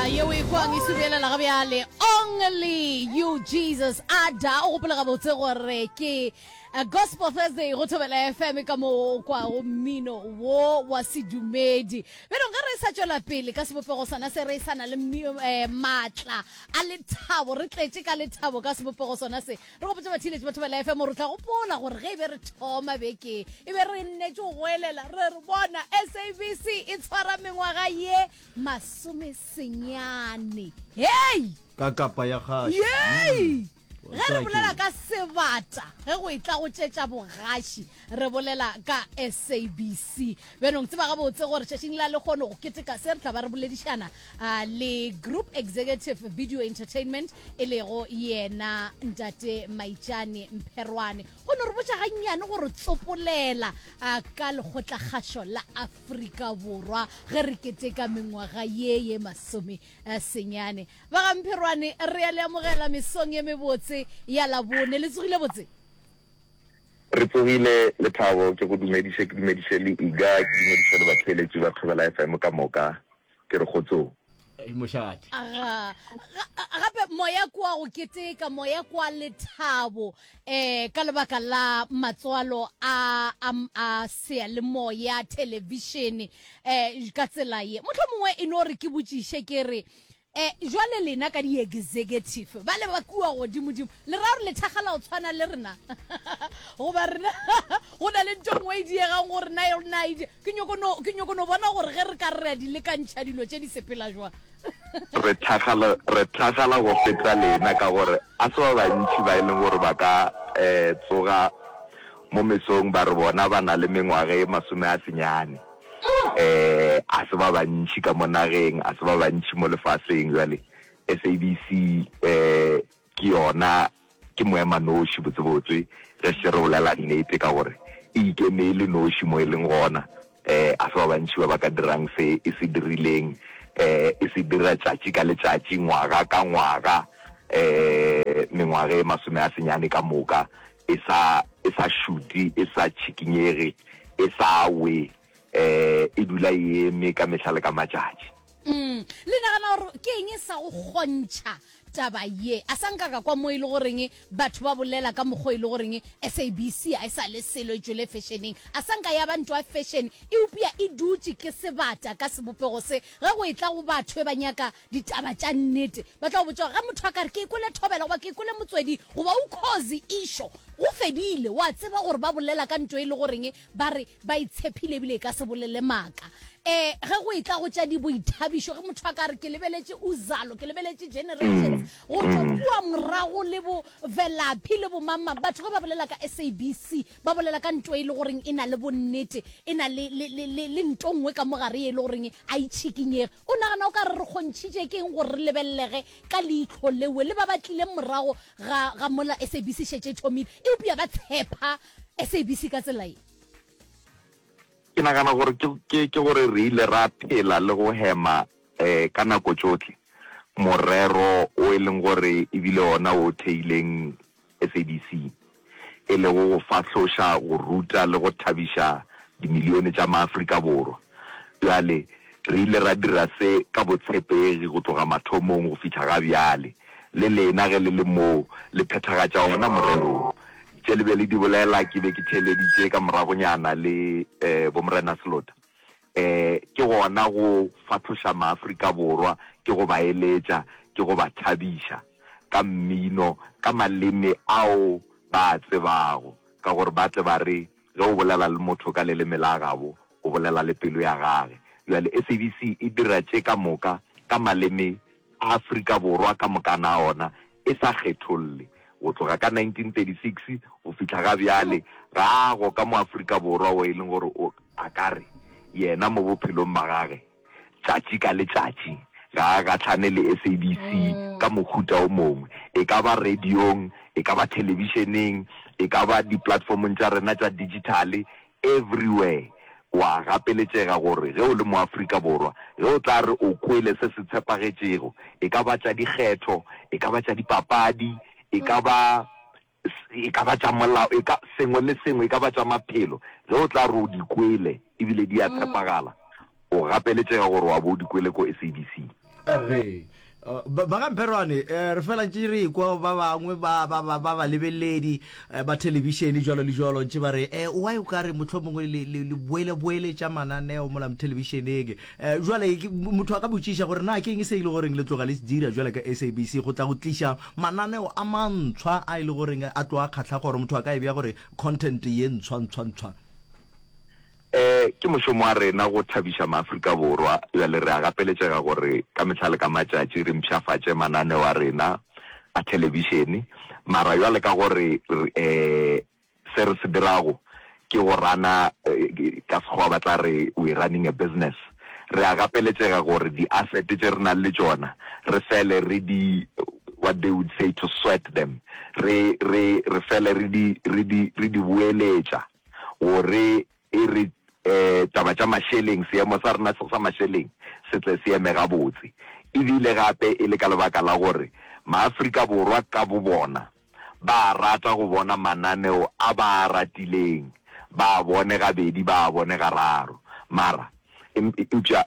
Ah, yeo e kwang e subelela ga bjale only you Jesus ada o gopola gabotse gore ke eh, gospel thursday go thobela fm ka mo o kwago mmino wo wa sedumedi bjalo ge re sa tšwela pele ka sebopego sona se re sa na le eh, maatla a lethabo re tletše ka lethabo ka sebopego sona se Re gopotše batheeletši ba Thobela FM gore o tla gopola gore ge e be re thoma beke e be re nnetše go goelela re re bona SABC e tshwara mengwaga ye masomesenyane. Hei! Ka kapa ya gaši. Yei! Ge re bolela ka sebata ge go etla go tšetša bogaši Re bolela ka SABC. Bjanong tseba gabotse gore tšatšing la lehono go keteka se re tla ba re boledišana le Group Executive Video Entertainment e lego yena Ntate Maitšane Mpherwane. Go no re botša gannyane gore tsopolela ka lekgotlakgašo la Afrika Borwa ge re keteka mengwaga ye ye masome senyane. Ba ga Mpherwane re a le amogela mesong ye mebotse ya Labone. Le tsogile botse? Re tsogile, Lethabo, ke go dumediše, ke dumediše le Iga, ke dumediše le batheeletši ba Thobela FM ka moka, ke re kgotsong. Mošate. Aga, gape moya kwa go keteka, moya kwa lethabo, eh, ka lebaka la matswalo a, a, a seyalemoya, thelebišene, eh, ka tsela ye. Mohlomongwe e no re ke botšiše ke re, E, jwale lena ka di-executive ba le ba kua godimodimo, le ra gore le thakgala go tshwana le rena? Goba rena go na le nto nngwe e diegang go rena e rena e Ke nyoko no, ke nyoko no bona gore ge re ka re re a di lekantšha dilo tše di sepela jwang. Re thakgala, re thakgala go feta lena ka gore a se ba bantši ba e leng gore ba ka um tsoga mo mesong ba re bona ba na le mengwaga e masome a senyane. um a se ba bantši ka mo nageng, a se ba bantši mo lefaseng. Bjale SABC um ke yona, ke moemanoši botsebotse ge se re bolela nnete, ka gore e ikeme e le noši mo e leng gona. Um a se ba bantši ba ba ka dirang se e se dirileng, um e se dira tšatši ka letšatši, ngwaga ka ngwaga, um mengwaga e masome a senyane ka moka e sa, e sa šute, e sa tšhikinyege, e sa we, um e dula e eme ka mehla le ka matšatši. Mm. Le nagana gore ke eng e sa go kgontšha taba ye? A sa nka ka kwa mo e le goreng batho ba bolela ka mokgwa e le goreng SABC a e sa le selo e tšwele fešeneng. A sa nka ya ba ntwa ya fešene, eupša e dutše ke sebata ka sebopego se. Ge go etla go batho e ba nyaka ditaba tša nnete, ba tla go botša gore ge motho a ka re ke kwele Thobela goba ke kwele Motsweding goba Ukhozi išo, go fedile. Wa tseba gore ba bolela ka nto e le goreng ba re ba e tshephile ebile e ka se bolele maaka. Um ge go etla go tša diboithabišo, ge motho a ka re ke lebeletše Uzalo, ke lebeletše Generations, go tšwa kua morago le bo Velaphi le bo mang-mang, batho ge ba bolela ka SABC, ba bolela ka nto e le goreng e na le bonnete, e na le, le, le, le, le nto nngwe ka mo gare ye e le goreng a e tšhikinyege. O nagana o ka re re kgontšhitše ke eng gore re lebelelege ka leihlo lewe le ba ba tlileng morago ga, ga mola SABC šetše e thomile, eupša ba tshepa SABC ka tsela ye? Ke nagana gore ke, ke, ke gore re ile ra phela le go hema um ka nako tšohle morero o e leng gore e bile ona o theileng SABC, e lego go fahloša, go ruta le go thabiša dimilione tša maAfrika Borwa. Bjale, re ile ra dira se ka botshepegi go tloga mathomong go fihla ga bjale. Le lena ge le le moo, le phethagatša ona morero wo. Tše le be le di bolela, ke be ke theeleditše ka moragonyana le Bomorena Selota. Um ke gona go fahloša maAfrika Borwa, ke go ba eletša, ke go ba thabiša ka mmino, ka maleme ao ba a tsebago, ka gore ba tle ba re ge o bolela le motho ka leleme la gabo, o bolela le pelo ya gage. Bjale SABC e dira tše ka moka ka maleme a Afrika Borwa ka mokana a ona, e sa kgetholle. Go tloga ka 1936 go fihla ga bjale, ga a go ka mo Afrika Borwa wo e leng gore o a ka re yena mo bophelong ba gage tšatši ka letšatši ga a gahlane le SABC ka mohuta o mongwe, e ka ba radiong, e ka ba thelebišeneng, e ka ba diplatformong tša rena tša digitale, everywhere. O a gapeletšega gore ge o le Moafrika Borwa, ge o tla re o kwele se se tshepagetšego, e ka ba tša dikgetho, e ka ba tša dipapadi, e ka ba, e ka ba tša molao, e ka, sengwe le sengwe, e ka ba tša maphelo, ge o tla re o di kwele ebile di a tshepagala, o gapeletšega gore wa bo o di kwele ko SABC. Ge ba ga Mpherwane re fela ntše re ekwa ba bangwe ba ba ba ba balebeledi ba thelebišene jwalo le jwalo ntše ba re eh why o ka re mohlomongwe le le le boele boeletša mananeo mola thelebišeneng. Jwale motho a ka botšiša gore na ke eng se e le goreng le tloga le se dira jwale ka SABC go tla go tliša mananeo a mantshwa a e le goreng a tlo a kgahla gore motho a ka e bea gore content ye ntshwa ntshwa ntshwa. Ke mošomo wa rena go thabiša maAfrika Borwa. Bjale re a gapeletšega gore ka mehla le ka matšatši re mpshafatše mananeo a rena a thelebišene. Mara bjale ka gore se re se dirago ke go rana, ka Sekgowa ba tla re we're running a business, re a gapeletšega gore di-asset tše re nang le tšona re fele re di, what they would say to sweat them, re, re, re fele re di, re di, re di boeletša. Gore e re taba tša mašeleng, seemo sa rena sa mašeleng se tle se eme gabotse. E bile gape e le ka lebaka la gore Maafrika Borwa ka bobona ba a rata go bona mananeo a ba a ratileng, ba a bone gabedi, ba a bone gararo. Mara, eupša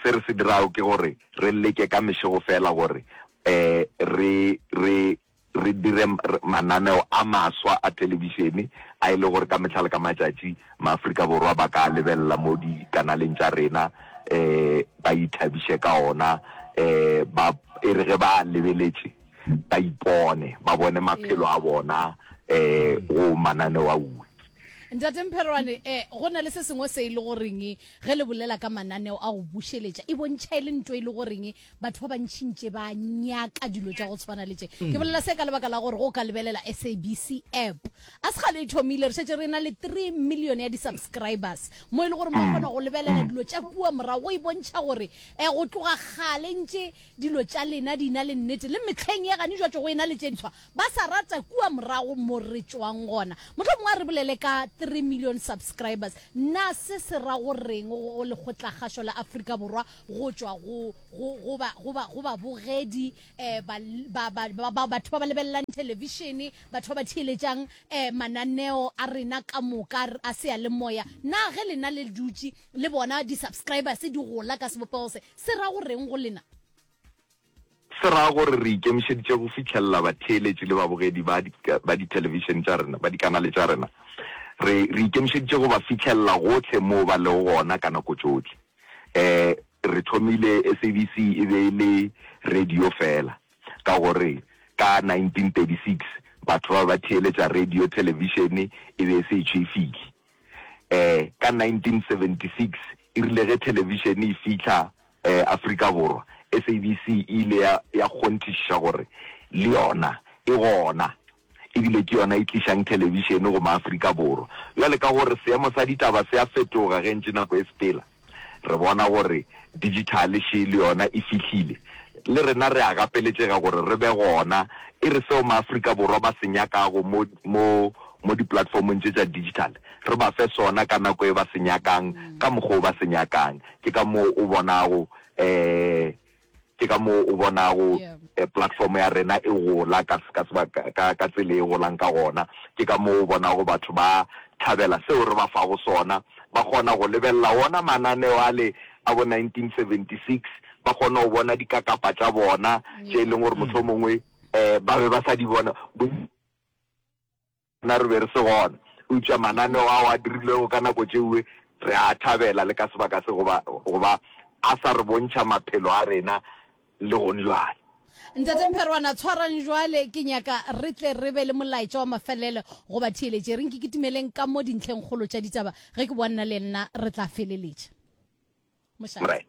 se re se dirago ke gore re leke ka mešego fela gore re, re, re dire mananeo a maswa a thelebišene a e le gore ka mehla le ka matšatši Maafrika Borwa ba ka a lebelela mo dikanaleng tša rena um ba ithabiše ka ona um ba e re ge ba a lebeletše ba ipone ba bone maphelo a bona um go mananeo a uwe. Ntate Mpherwane, um go na le se sengwe se e le goreng ge le bolela ka mananeo a go bušeletša e bontšha e le nto e le goreng Batho ba bantši ntše ba nyaka dilo tša go tshwana le tše. Ke bolela se ka lebaka la gore go ka lebelela SABC app. A se kgale e thomile, re šetše re na le 3 million ya di-subscribers mo e le gore mo kgona go lebelela dilo tša kua morago, go e bontšha gore um go tloga kgale ntše dilo tša lena di na le nnete le mehleng ye gane jwatšo go e na le tše ntshwa ba sa rata kua morago mo re tšwang gona. Mohlomongwe a re bolele ka 3 million subscribers. Na se se ra go reng go Lekgotlakgašo la Afrika Borwa go tšwa go, go, go ba, go ba, go babogedi, eh, ba, ba, ba, ba, ba, batho ba ba lebelelang thelebišene, batho ba ba theeletšang, eh, mananeo a rena ka moka a seyalemoya. Na ge lena le dutše le bona di-subscribers di gola ka sebopego se, se ra go reng go lena? Se ra gore re ikemišeditše go fihlelela batheeletši le babogedi ba, ba dithelebišene tša rena, ba dikanale tša rena. Re, re ikemišeditše go ba fihlelela gohle moo ba lego gona ka nako tšohle. Um re thomile SABC e be e le radio fela, ka gore ka 1936 batho ba be ba theeletša radio, thelebišene e be e se etšwe e fihle. Um ka 1976 e rile ge thelebišene e fihla um Afrika Borwa, SABC e ile ya, ya kgonthišiša gore le yona e gona. E bile ke yona e tlišang thelebišene go maAfrika Borwa. Bjale ka gore seemo sa ditaba se a fetoga ge ntše nako e sepela, re bona gore dijithale še le yona e fihlile. Le rena re a gapeletšega gore re be gona, e re seo maAfrika Borwa ba se nyakago mo, mo, mo diplatformong tše tša digital, re ba fe sona ka nako e ba se nyakang, ka mokgwa o ba se nyakang. Ke ka moo o bonago um Ke ka moo o bonago platform ya rena e gola ka, ka, ka, ka tsela e golang ka gona. Ke ka moo o bonago batho ba thabela seo re ba fago sona. Ba kgona go lebelela wona mananeo ale a bo 1976, ba kgona go bona dikakapa tša bona tše e leng gore mohlomongwe um ba be ba sa di bona. Na re be re se gona? Eupša mananeo ao a dirilwego ka nako tšeue re a thabela le ka sebaka se goba, goba a sa re bontšha maphelo a rena le gonjwale. Ntate Mpherwana, tshwarang jwale, ke nyaka re tle re be le molaetša wa mafelelo go batheeletši. E reng ke kitimeleng ka mo dintlhengkgolo tša ditaba, ge ke boa nna le nna re tla feleletša. Mošate. Right.